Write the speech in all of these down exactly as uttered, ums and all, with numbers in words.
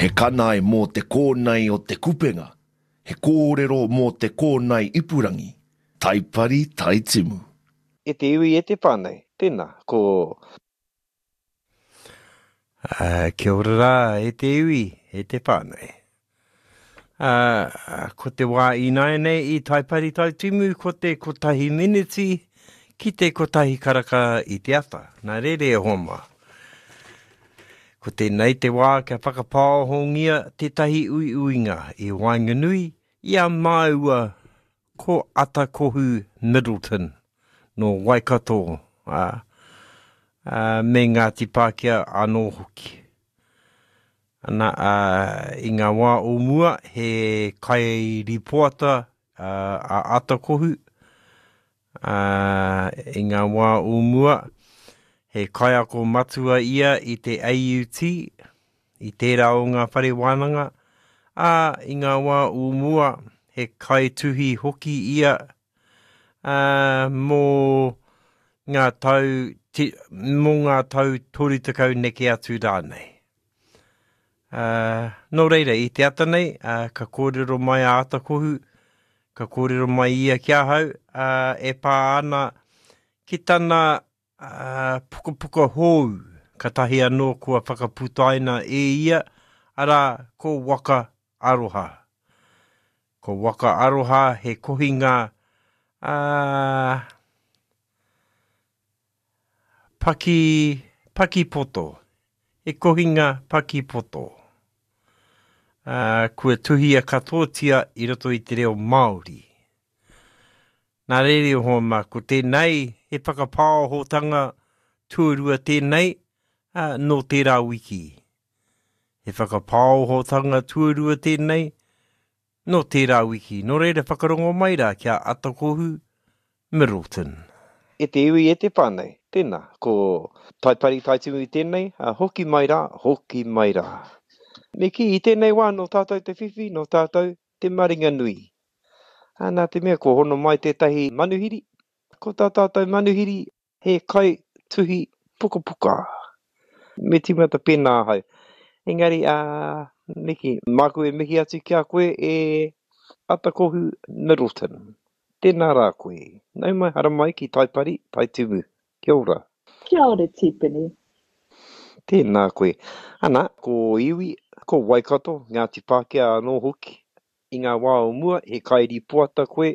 He kanae mō te kōnae o te kupenga, he kōrero mō te kōnae ipurangi, Taipari Taitimu. E te iwi, e te whānau, tēnā, ko. Uh, kia ora rā, e te iwi, e te whānau. Uh, ko te wā ināianei i Taipari Taitimu, ko te kotahi miniti ki te kotahi karaka i te ata. Nā reira e hoa mā. Ko tēnei te wā kia whakapāohongia tētahi uiuinga i waenganui i a māua ko Atakohu Middleton nō Waikato, ā, ā, me Ngāti Pākehā anō hoki. Ana, ā, i ngā wā o mua he kairipoata a Atakohu, ā, i ngā wā o mua he kaiako matua ia i te A U T, i tērā o ngā whare wānanga, ā, i ngā wā o mua he kaituhi hoki ia, ā, mō ngā tau, mō ngā tau toru tekau neke atu rānei. Ā, nō reira, i te ata nei, ā, ka kōrero mai a Atakohu, ka kōrero mai ia ki ahau, ā, e pā ana ki tana ā, pukapuka hou, katahi anō kua whakaputaina e ia, arā, ko Waka Aroha. Ko Waka Aroha he kohinga, ā, paki, pakipoto, he kohinga pakipoto. Ā, kua tuhia katoatia i roto i te reo Māori. Nā reira e hoa mā, ko tēnei he whakapāohotanga tuarua tēnei, ā, nō tērā wiki. He whakapāohotanga tuarua tēnei nō tērā wiki. Nō reira whakarongo mai rā ki a Atakohu Middleton. E te iwi, e te whānau, tēnā, ko Taipari Taitimu tēnei, ā, hoki mai rā, hoki mai rā. Me kī, i tēnei wā nō tātou te whiwhi, nō tātou te maringanui. Ā, nā te mea kua hono mai tētahi manuhiri, ko tā tātou manuhiri he kai tuhi pukapuka. Me tīmata pēnā ahau. Engari, ā, me kī, māku e mihi atu ki a koe e Atakohu Middleton. Tēnā rā koe. Nau mai, haramai ki Taipari, Taitumu. Kia ora. Kia ora, Tipene. Tēnā koe. Ana, ko iwi, ko Waikato, Ngāti Pākehā anō hoki. I ngā wā o mua, he kairipoata koe,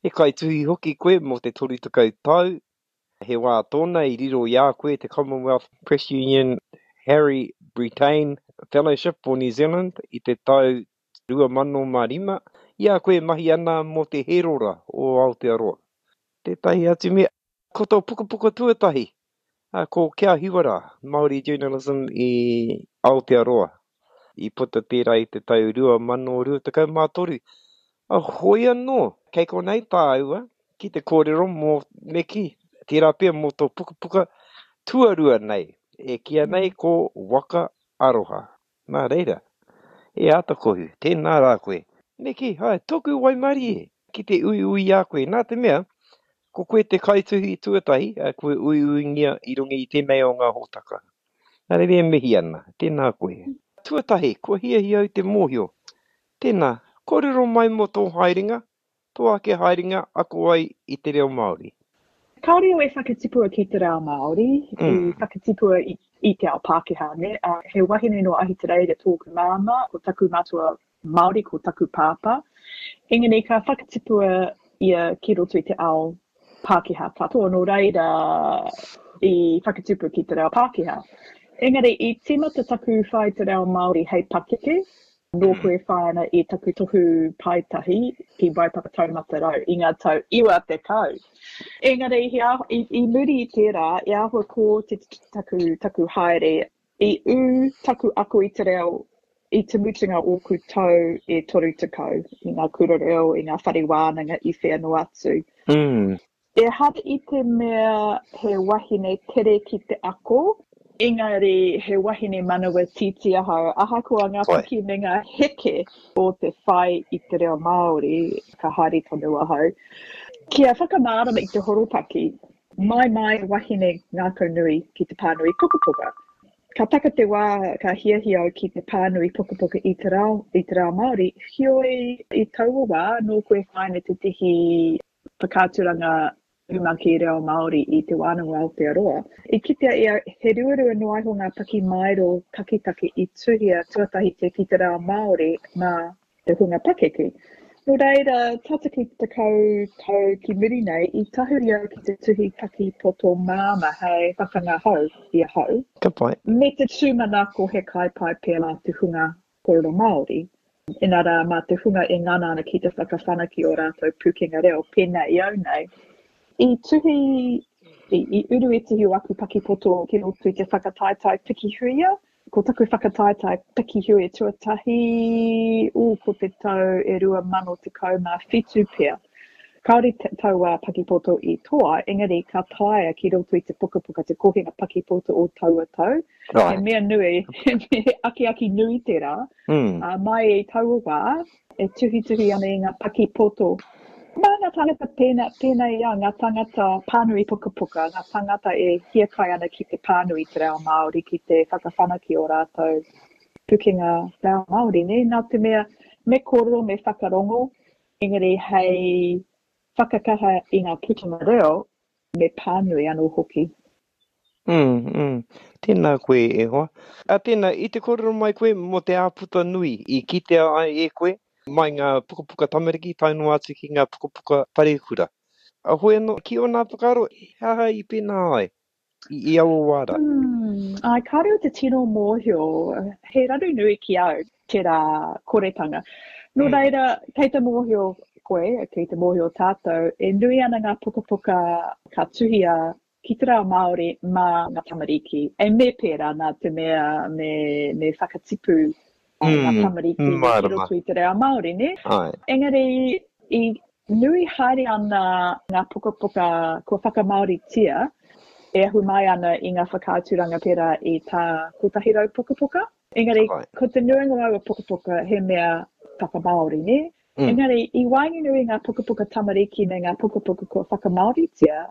he kaituhi hoki koe mō te toru tekau tau. He wā tōna i riro i a koe te Commonwealth Press Union Harry Brittain Fellowship for New Zealand i te tau rua mano mā rima, i a koe e mahi ana mō te Herora o Aotearoa. Tētahi atu mea, ko tō pukapuka tuatahi, ko Kia Hiwa Rā, Māori Journalism i Aotearoa. I puta tērā i te tau rua mano rua tekau mā toru. Hoi anō, kei konei tāua ki te kōrero mō, me kī, tērā pea mō tō pukapuka tuarua nei, e kīia nei ko Waka Aroha. Nā reira, e Atakohu, tēnā rā koe. Me kī, hai, tōku waimarie ki te uiui i a koe, nā te mea, ko koe te kaituhi tuatahi, kua uiuingia i runga i tēnei o ngā hōtaka. Nā reira e mihi ana, tēnā koe. Tuatahi, kua hiahia au te mōhio. Tēnā, kōrero mai mō tō haerenga, tō ake haerenga ako ai i te reo Māori. Kāore au e whakatipua ki te reo Māori, i whakatipua i, i te ao Pākehā, nē. He wahine nō Ahitereiria tōku māmā, ko taku matua Māori, ko taku pāpā. Engari ka whakatipua ia ki roto i te ao Pākehā katoa, nō reira i whakatupu ki te reo Pākehā. Engari i tīmata taku whai te reo Māori hei pakeke, nōku e whai ana i taku tohu paetahi ki Waipapa Taumata Rau i ngā tau iwa tekau. Engari he āhua, i, i muri i tērā, e āhua kō te taku, taku haere, i ū taku ako i te reo i te mutunga ōku tau e toru tekau i ngā kura reo, i ngā whare wānanga i whea noa atu. Mm. Ehara i te mea he wahine tere ki te ako, engari he wahine manawa tītī ahau, ahakoa ngā piki me ngā heke o te whai i te reo Māori, ka haere tonu ahau. Kia whakamārama i te horopaki, mai mai wahine ngākau nui ki te pānui pukapuka. Ka taka te wā ka hiahia au ki te pānui pukapuka i te reo, i te reo Māori, heoi i taua wā nōku e whai ana tētehi whakaaturanga umaki reo Māori i Te Wānanga o Aotearoa. I kitea e au he ruarua noa iho ngā pakimaero taketake i tuhia tuatahitia ki te reo Māori mā te hunga pakeke. Nō reira, tata ki te tekau tau ki muri nei, i tahuri au ki te tuhi paki poto māmā hei whakangahau i ahau. Ka pai. Me te tūmanako he kai pai pea mā te hunga kōrero Māori, inarā mā te hunga e ngana ana ki te whakawhanake ō rātou pūkenga reo pēnā i au nei. I tuhi, i, i uru ētahi o aku paki poto ki roto i te whakataetae Pikihuia. Ko taku whakataetae Pikihuia tuatahi, ū, ko te tau e rua mano tekau mā whitu pea. Kāore taua pakipoto i toa, engari ka taea ki roto i te pukapuka te kohinga pakipoto o taua tau. Right. He mea nui, he akiaki nui tērā. Mm. Uh, mai i taua wā, e tuhituhi ana i ngā pakipoto. Mā ngā tāngata pēnā, pēnā i au, ngā tāngata pānui pukapuka, ngā tāngata e hiakai ana ki te pānui te reo Māori, ki te whakawhanake o rātou pukenga reo Māori, nē? Nā te mea, me kōrero, me whakarongo, engari hei whakakaha i ngā putanga reo, me pānui anō hoki. Mm, mm. Tēnā koe e hoa. A tēnā, i te kōrero mai koe mō te āputa nui i kitea ai e koe mai ngā pukapuka tamariki tae noa atu ki ngā pukapuka wharekura. A hoi anō, ki ōna whakaaro, he aha i pēnā ai i, i aua wā rā? Mm, ai, kāore au te tino mōhio, he raru nui ki au tērā koretanga. Nō Mm. reira, kei te mōhio koe, kei te mōhio tātou, e nui ana ngā pukapuka ka tuhia ki te reo Māori mā ngā tamariki. E me pērā nā te mea me, me whakatipu ngā Mm, tamariki ki mārama. roto i te reo Māori, nē? Ai. Engari, i nui haere ana ngā pukapuka kua whakamāoritia e ahu mai ana i ngā whakaaturanga pērā i tā kotahi rau pukapuka. Engari, Ai. ko te nuinga o aua pukapuka he mea whakamāori, nē? Mm. Engari, i waenganui i ngā pukapuka tamariki me ngā pukapuka kua whakamāoritia,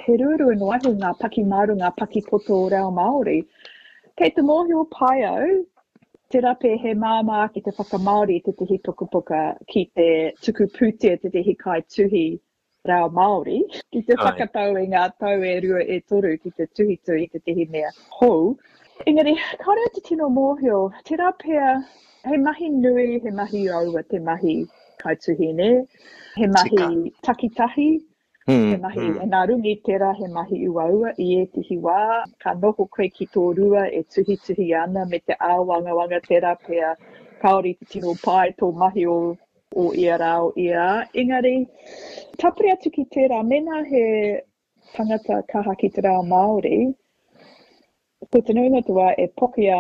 he ruarua noa iho ngā pakimaero, ngā pakipoto reo Māori. Kei te mōhio pai au, tērā pea he māmā ake te whakamāori i tētehi pukapuka ki te tuku pūtea tētehi kaituhi reo Māori, ki te Ai. whakatau i ngā tau e rua e toru ki te tuhituhi i tētehi mea hou. Engari, kāore au te tino mōhio, tērā pea he mahi nui, he mahi uaua te mahi kaituhi, nē? He mahi Tika. takitahi, he Mm, mahi mm. nā runga i tērā he mahi uaua i ētehi wā, ka noho koe ki tō rua e tuhituhi ana me te āwangawanga tērā pea kāore i te tino pai tō mahi o, o ia rā o ia rā. Engari, tāpiri atu ki tērā, mēnā he tangata kaha ki te reo Māori, ko te nuinga o te wā e pokia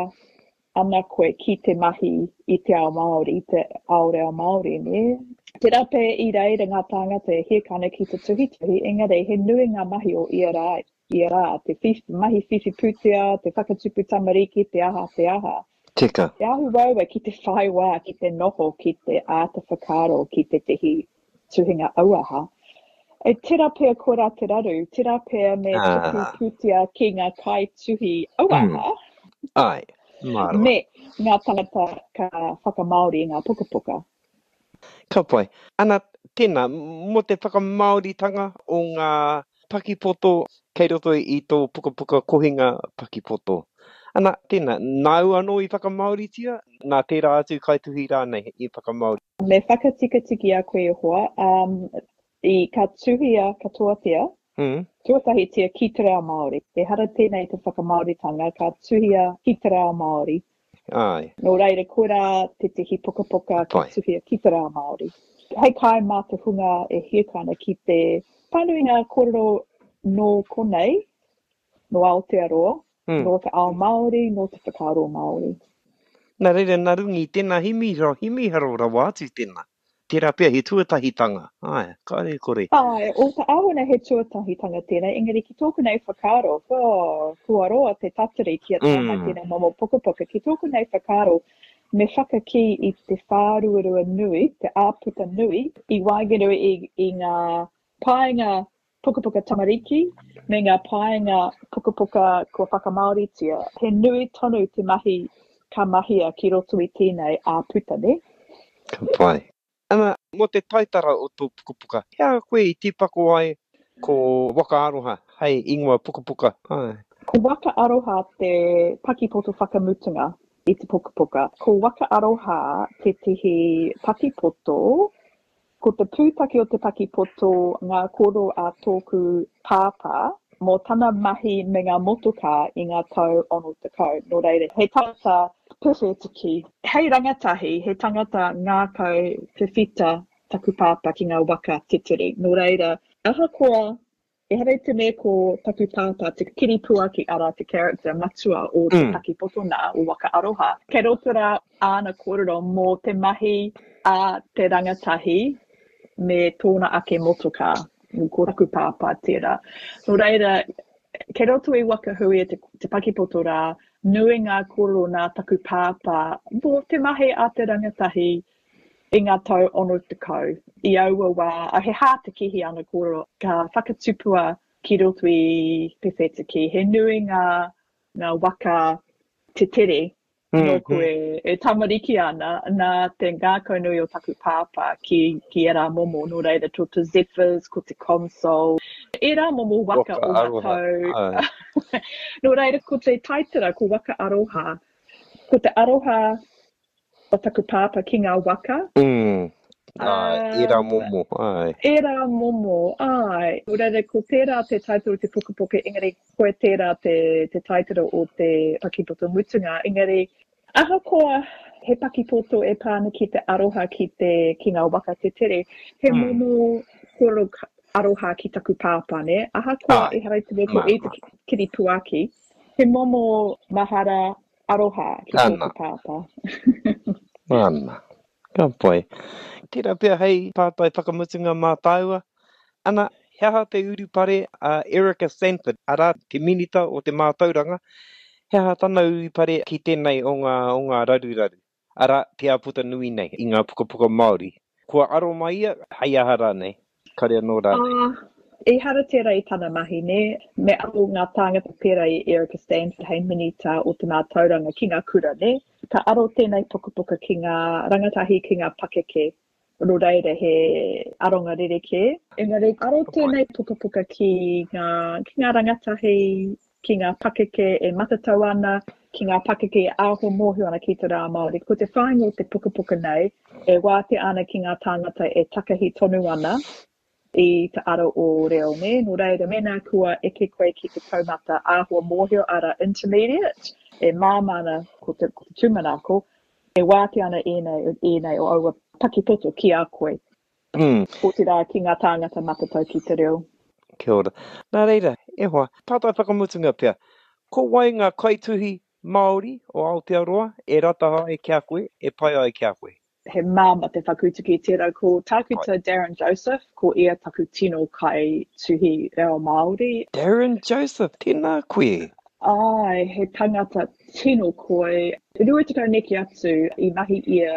ana koe ki te mahi i te ao Māori, i te ao reo Māori, nē? Tērā pea i reira ngā tāngata e hiahia ana ki te tuhituhi, engari he nui ngā mahi o ia rā, ia rā, te whiwhi, mahi whiwhi pūtea, te whakatupu tamariki, te aha, te aha. Tika. Te ahu uaua ki te whai wā, ki te noho, ki te āta whakaaro, ki tētehi tuhinga auaha. E tērā pea koirā te raru, tērā pea me tuku Ah. pūtea ki ngā kaituhi Mm. auaha, Ai, mārama. me ngā tangata ka whakamāori i ngā pukapuka. Ka pai. Ana, tēnā, mō te whakamāoritanga o ngā pakipoto kei roto i tō pukapuka kohinga pakipoto. Ana, tēnā, nāu anō i whakamāoritia, nā tērā atu kaituhi rānei i whakamāori? Me whakatikatiki a koe e hoa, um, i ka tuhia katoatia, Mm. tuatahitia ki te reo Māori. Ehara tēnei te whakamāoritanga, ka tuhia ki te reo Māori. Ai. Nō reira, koirā tētehi pukapuka ka Pai. tuhia ki te reo Māori. Hei kai mā te hunga e hiahia ana ki te pānui ngā kōrero nō konei, nō Aotearoa, Mm. nō te ao Māori, nō te whakaaro Māori. Nā reira, nā runga i tēnā himiharo, himiharo rawa atu tēnā. Tērā pea he tuatahitanga. Ai, kāore kore. Ai, o te āwana he tuatahitanga tēnei, engari ki tōku nei whakaaro, oh, kua roa te tatari kia tae mai Mm. tēnei momo pukapuka. Ki tōku nei whakaaro, me whakakī i te whāruarua nui, te āputa nui, i waenganui i, i ngā painga pukapuka tamariki me ngā paenga pukapuka kua whakamāoritia. He nui tonu te mahi ka mahia ki roto i tēnei ā-puta, nē? Ka pai. Ana, mō te taitara o tō pukapuka, he aha koe i tīpako ai ko Waka Aroha hei ingoa pukapuka? Āe. Ko Waka Aroha te pakipoto whakamutunga i te pukapuka. Ko Waka Aroha tētehi pakipoto, ko te pūtake o te pakipoto ngā kōrero a tōku pāpā mō tana mahi me ngā motokā i ngā tau ono tekau. Nō reira, he tangata pewhetiki. Hei rangatahi, he tangata ngākau whiwhita taku pāpā ki ngā waka tetere. Nō reira, ahakoa Ehara i te mea ko taku pāpā te kiripuaki, arā, te character matua o te pakipoto nā, o Waka Aroha. Kei roto rā āna kōrero mō te mahi a te rangatahi me tōna ake motokā, ko taku pāpā tērā. Nō reira, kei roto i Waka Huia te, te pakipoto rā, nui ngā kōrero nā taku pāpā mō te mahi a te rangatahi i ngā tau ono tekau. I aua wā, he hātekehi ana kōrero, ka whakatupua ki roto i Pewhetiki. He nui ngā, ngā waka tetere nōku e, e tamariki ana, nā te ngākaunui o taku pāpā ki, ki ērā momo, nō reira, ko te Zephyrs, ko te Consol, ērā momo waka, Waka o ngā Aroha, tau. āe. Nō reira, ko te taitara, ko Waka Aroha, ko te aroha o taku pāpā ki ngā waka. Mm. Āe, ērā Um, momo, āe. Ērā momo, āe. Nō reira, ko tērā te taitara o te pukapuka, engari koe tērā te, te taitara o te pakipoto mutunga. Engari, ahakoa he pakipoto e pā ana ki te aroha ki te, ki ngā waka tetere, he Mm. momo kōrero aroha ki taku pāpā, nē? Ahakoa Āe, ehara i te mea ko i te māmā. kiripuaki, he momo mahara aroha ki tōku Ana. pāpā. Ana. Ka pai. Tērā pea hei pātai whakamutunga mā tāua. Ana, he aha te urupare a Erica Sanford, arā, te Minita o te Mātauranga, he aha tana urupare ki tēnei o ngā, o ngā raruraru, arā, te āputa nui nei i ngā pukapuka Māori. Kua aro mai ia, hei aha rānei, kare anō rānei. Ah, ehara tērā i tana mahi, nē? Me aro ngā tāngata pērā i Erica Stanford hei Minita o te Mātauranga ki ngā kura, nē? Ka aro tēnei pukapuka ki ngā rangatahi, ki ngā pakeke, nō reira he aronga rerekē. Engari, aro tēnei pukapuka ki ngā, ki ngā rangatahi, ki ngā pakeke e matatau ana, ki ngā pakeke e āhua mōhio ana ki te rā Māori. Ko te whāinga o te pukapuka nei, e wātea ana ki ngā tāngata e takahi tonu ana i te ara o reo, nē? Nō reira, mēnā kua eke koe ki te taumata āhua mōhio, ara intermediate, e māmā ana ko te, ko te tūmanako, e wātea ana ēnei, ēnei o aua pakipoto ki a koe. Mm. Otirā ki ngā tāngata matatau ki te reo. Kia ora. Nā reira, e hoa, pātai whakamutunga pea. Ko wai ngā kaituhi Māori o Aotearoa e rata ai ki a koe, e pai ai ki a koe? He māmā te whakautu ki tērā. Ko Tākuta Darren Joseph, ko ia taku tino kaituhi reo Māori. Darren Joseph, tēnā koe. Āe, he tangata tino koi. Rua tekau neke atu i mahi ia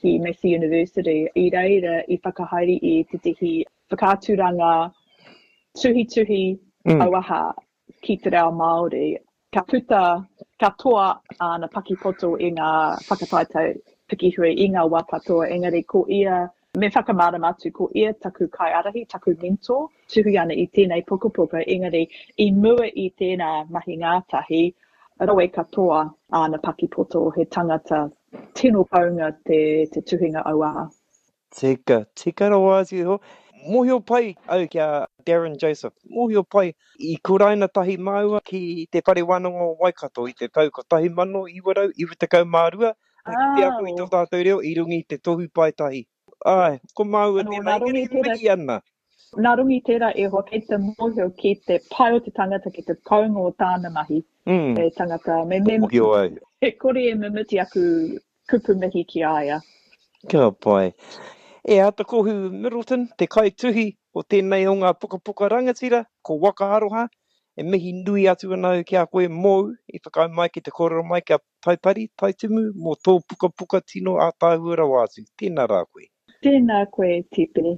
ki Massey University. I reira i whakahaere i tētehi whakaaturanga tuhituhi Mm. auaha ki te reo Māori. Ka puta katoa āna pakipoto i ngā whakataetae pikihui i ngā wā katoa, engari ko ia, me whakamārama atu, ko ia taku kaiārahi, taku mentor, tuhi ana i tēnei pukapuka, engari i mua i tēnā mahi ngātahi, rawe katoa āna pakipoto, he tangata tino kounga te, te tuhinga auaha. Tika, tika rawa atu iho. Mōhio pai au ki a Darren Joseph. Mōhio pai, i kuraina tahi māua ki te Whare Wānanga o Waikato i te tau kotahi mano iwa rau iwa tekau mā rua, ki te ako i tō tātou reo i runga i te tohu paetahi. Āe, ko māua Anō, tēnā, nā runga engari i tērā, mihi ana. Nā runga i tērā e hoa, kei te mōhio ki te pai o te tangata, ki te kounga o tāna mahi. Mm. E tangata, me, me, Mōhio au. e kore e mimiti aku kupu mihi ki a ia. Ka pai. E Atakohu Middleton, te kaituhi o tēnei o ngā pukapuka rangatira, ko Waka Aroha, e mihi nui atu ana au ki a koe mōu i whakaae mai ki te kōrero mai kia Taipari, Taitimu, mō tō pukapuka tino ātaahua rawa atu. Tēnā rā koe. Tēnā koe, Tipene.